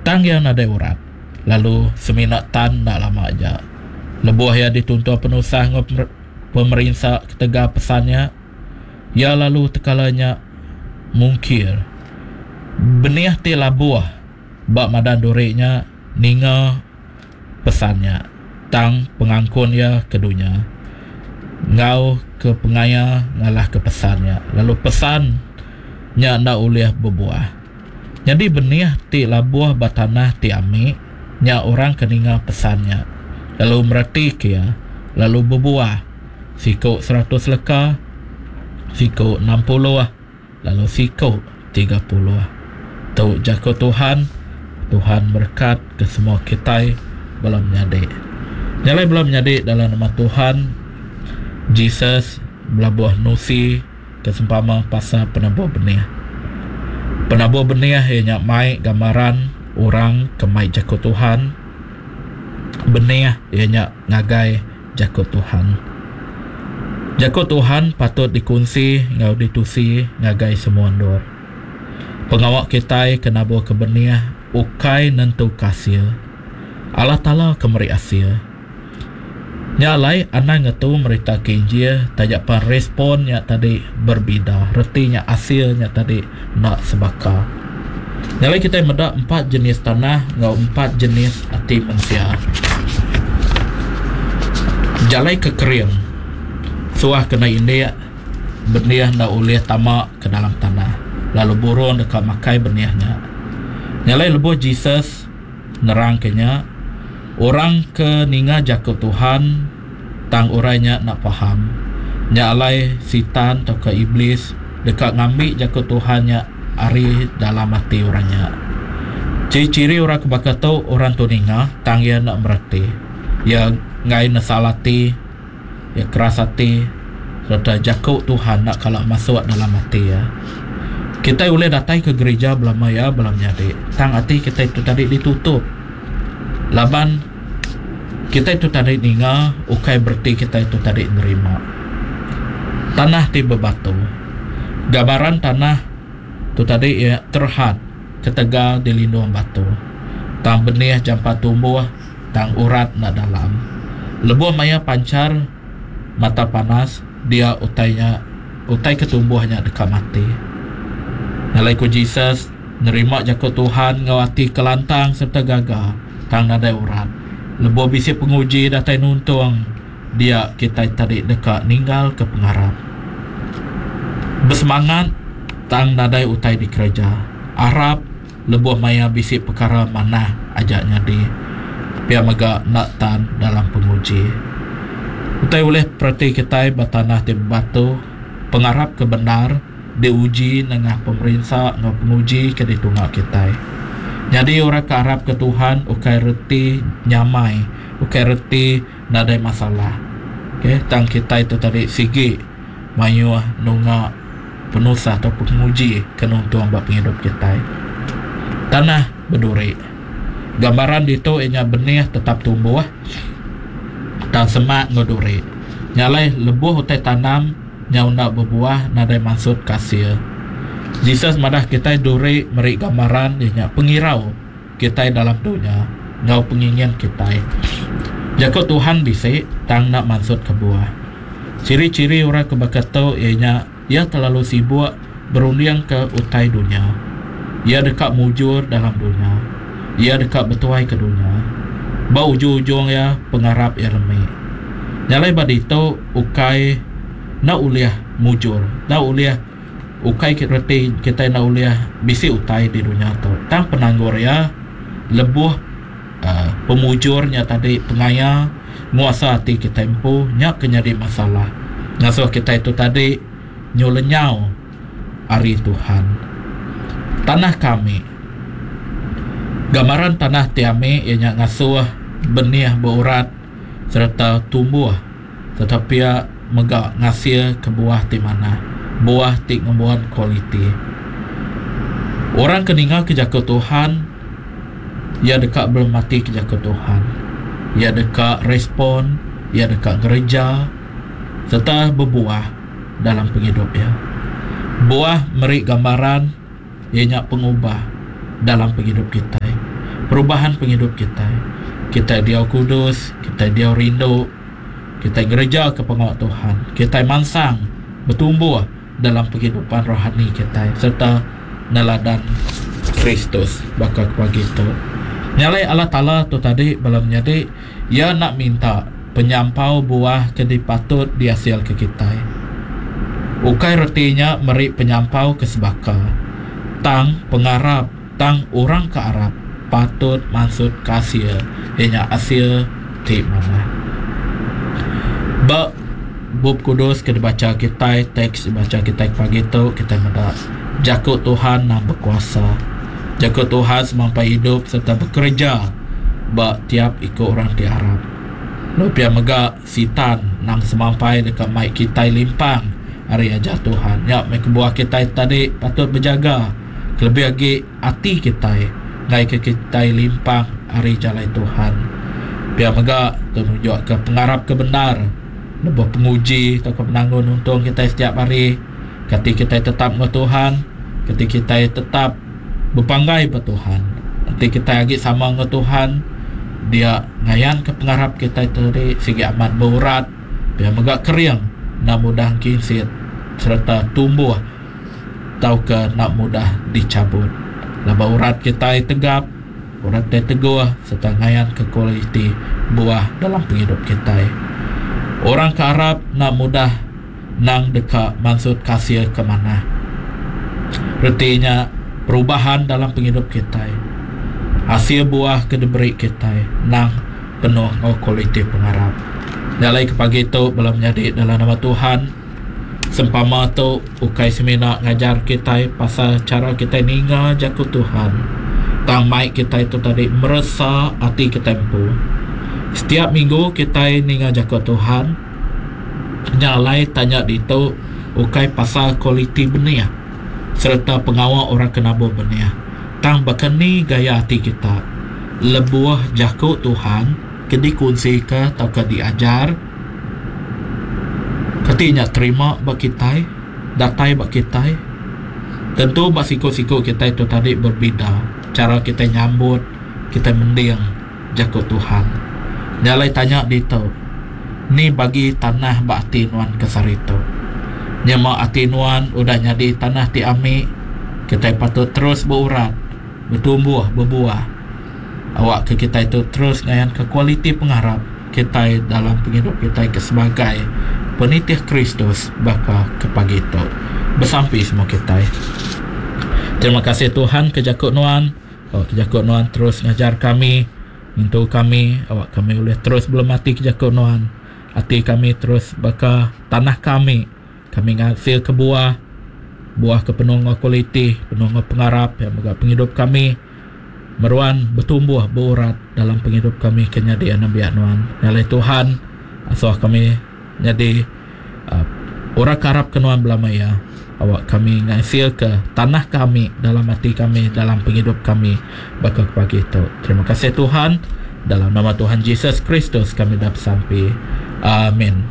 Tang iya nadai urat, lalu semina tan enda lama aja. Lebuh iya dituntung penusah enggau pemerinsa ketegal pesan nya, iya lalu tekala nya mungkir. Benih ti labuh ba madan duri nya ninga pesan nya, tang pengangkun iya ke dunya enggau ke pengaya ngalahka pesan nya, lalu pesan nya enda ulih bebuah. Nyadi benih ti labuh ba tanah ti ami nya orang ke ninga pesan nya, lalu meretika iya, lalu bebuah, siku seratus leka, siku 60, lalu siku 30. Tu jaku Tuhan, Tuhan merekat ke semua kitai bala menyadi. Nya alai bala menyadi dalam nama Tuhan Jesus belabuh nusi. Ke sempama pasal penabur benih. Penabur benih iya nya mai gambaran orang ke mai jaku Tuhan. Benih iya nya ngagai jaku Tuhan. Jaku Tuhan patut dikunsi enggau ditusi ngagai semua endur. Pengawa kitai ke naburka benih ukai nentuka asil. Allah Taala ke meri asil. Nya alai anang ngetu meritaka Injil taja pan respon nya tadi berbida reti nya asil nya tadi enda sebaka. Nya alai kitai meda empat jenis tanah enggau empat jenis ati mensia. Jalai ke kering suah kena indik benih enda ulih tama ke dalam tanah lalu burung deka makai benih nya. Nya alai lebuh Jesus. Nerangka nya, orang ke ninga jaku Tuhan tang orang nya enda faham. Nya alai Sitan tauka Iblis deka ngambi jaku Tuhan nya ari dalam ati orang nya. Ciri-ciri orang ke baka tu, orang tu ninga tang iya enda mereti. Iya enggai nesal ati. Iya keras ati sereta jaku Tuhan enda kala masuk dalam ati iya. Kitai ulih datai ke gerija belama iya bala menyadi tang ati kitai tu tadi ditutup laban kitai tu tadi ninga ukai bereti kitai tu tadi nerima. Tanah ti bebatu. Gambaran tanah tu tadi iya terhad ketegal dilindung batu. Tang benih jampat tumbuh. Tang urat enda dalam. Lebuh maya panchar mata panas, dia utai nya, utai ke tumbuh nya deka mati. Nya alai ku Jesus, nerima jaku Tuhan enggau ati ke lantang sereta gaga, tang nadai urat. Lebuh bisi penguji datai nuntung, dia kitai tadi deka ninggalka pengarap. Besemangat tang nadai utai dikereja. Arap. Lebuh maya bisi pekara manah aja nyadi, pia mega enda tan dalam penguji. Utai ulih pereti kitai ba tanah ti bebatu, pengarap ke bendar diuji nengah pemerinsa enggau penguji ke ditunga kitai. Nyadi orang ke arapka Tuhan ukai reti nyamai, ukai reti nadai masalah. Okay, tang kitai tu tadi sigi mayuh nunga. Penusah tau penguji ke nuntung ba pengidup kitai. Tanah beduri. Gambaran ditu iya nya benih tetap tumbuh tang semak enggau duri. Nya alai lebuh utai tanam nyau enda bebuah nadai mansut ke asil. Jesus madah kitai duri meri gambaran iya nya pengirau kitai dalam dunya enggau pengingin kitai. Jaku Tuhan bisi tang enda mansut ke buah. Ciri-ciri orang ke baka tu iya nya iya kelalu sibuk berundingka utai dunya. Iya deka mujur dalam dunya. Iya deka betuaika dunya. Ba ujung-ujung iya, pengarap iya lemi. Nya alai ba ditu ukai enda ulih mujur, enda ulih ukai reti kitai enda ulih bisi utai di dunya tu. Tang penanggul iya lebuh uhh pemujur nya tadi pengaya nguasa ati kitai empu nya ke nyadi masalah ngasuh kitai tu tadi nyu lenyau ari Tuhan. Tanah ke ami. Gambaran tanah ti ami iya nya ngasuh benih beurat sereta tumbuh sereta pia mega ngasilka buah ti manah, buah ti ngembuan kualiti. Orang ke ningaka jaku Tuhan iya deka belematika jaku Tuhan. Iya deka respon, iya deka ngereja sereta bebuah dalam pengidup iya. Buah meri gambaran iya nya pengubah dalam pengidup kitai. Perubahan pengidup kitai. Kitai diau kudus, kitai diau rindu, kitai ngereja ke pengawa Tuhan. Kitai mansang betumbuh dalam pengidupan rohani kitai sereta neladan Kristus baka ke pagi tu. Nya alai Allah Taala tu tadi bala menyadi iya enda minta penyampau buah ke dipatut diasilka kitai. Ukai reti nya meri penyampau ke sebaka. Tang pengarap tang orang ke arap patut mansutka asil iya nya asil ti manah. Ba Bup Kudus ke dibacha kitai, teks dibacha kitai pagi tu kitai meda jaku Tuhan nang bekuasa. Jaku Tuhan semampai idup sereta bekereja ba tiap iku orang ti arap. Lalu pia mega Sitan nang semampai deka mai kitai limpang ari ajar Tuhan. Nya meh kebuah kitai tadi patut bejaga kelebih agi ati kitai ngaika kitai limpang ari jalai Tuhan. Pia mega tu nunjukka pengarap ke bendar lebuh penguji tauka penanggul nuntung kitai setiap hari. Kati kitai tetap enggau Tuhan? Kati kitai tetap bepanggai ba Tuhan? Enti kitai agi sama enggau Tuhan, dia ngayanka pengarap kitai tadi sigi amat beurat pia mega kering enda mudah engkinsit sereta tumbuh tauka enda mudah dichabut. Laban urat kitai tegap, urat kitai teguh sereta ngayanka kualiti buah dalam pengidup kitai. Orang ke arap enda mudah nang deka mansutka asil ke manah. Reti nya perubahan dalam pengidup kitai. Asil buah ke diberi kitai nang penuh enggau kualiti pengarap. Nya alai ke pagi tu bala menyadi dalam nama Tuhan. Sempama tu ukai semina ngajar kitai pasal chara kitai ninga jaku Tuhan, tang mai kitai tu tadi meresa ati kitai empu. Setiap minggu kitai ninga jaku Tuhan, nya alai tanya ditu ukai pasal kualiti benih sereta pengawa orang ke nabur benih, tang baka ni gaya ati kita lebuh jaku Tuhan ke dikunsika tauka diajar. Kati nya terima ba kitai, datai ba kitai. Tentu ba siku-siku kitai tu tadi berbida chara kitai nyambut, kitai mending jaku Tuhan. Nya alai tanya ditu, ni bagi tanah ba ati nuan ke sehari tu? Nyema ati nuan udah nyadi tanah ti ami, kitai patut terus beurat, betumbuh, bebuah. Awakka kitai tu terus ngayanka kualiti pengarap kitai dalam pengidup kitai ke sebagai penitih Kristus baka ke pagi tu. Besampi semua kitai. Terima kasih Tuhan ke jaku nuan. Awak ke jaku nuan terus ngajar kami, ngintu kami, awak kami ulih terus belemati ke jaku nuan. Ati kami terus baka tanah kami. Kami ngasilka buah, buah ke penuh enggau kualiti, penuh enggau pengarap, pia mega pengidup kami meruan betumbuh beurat dalam pengidup kami ke nyadi anembiak nuan. Nya alai Tuhan, asuh kami nyadi uhh orang ke arap ke nuan belama iya. Awak kami ngasilka tanah kami dalam ati kami, dalam pengidup kami baka ke pagi tu. Terima kasih Tuhan. Dalam nama Tuhan Jesus Kristus kami dah besampi. Amin.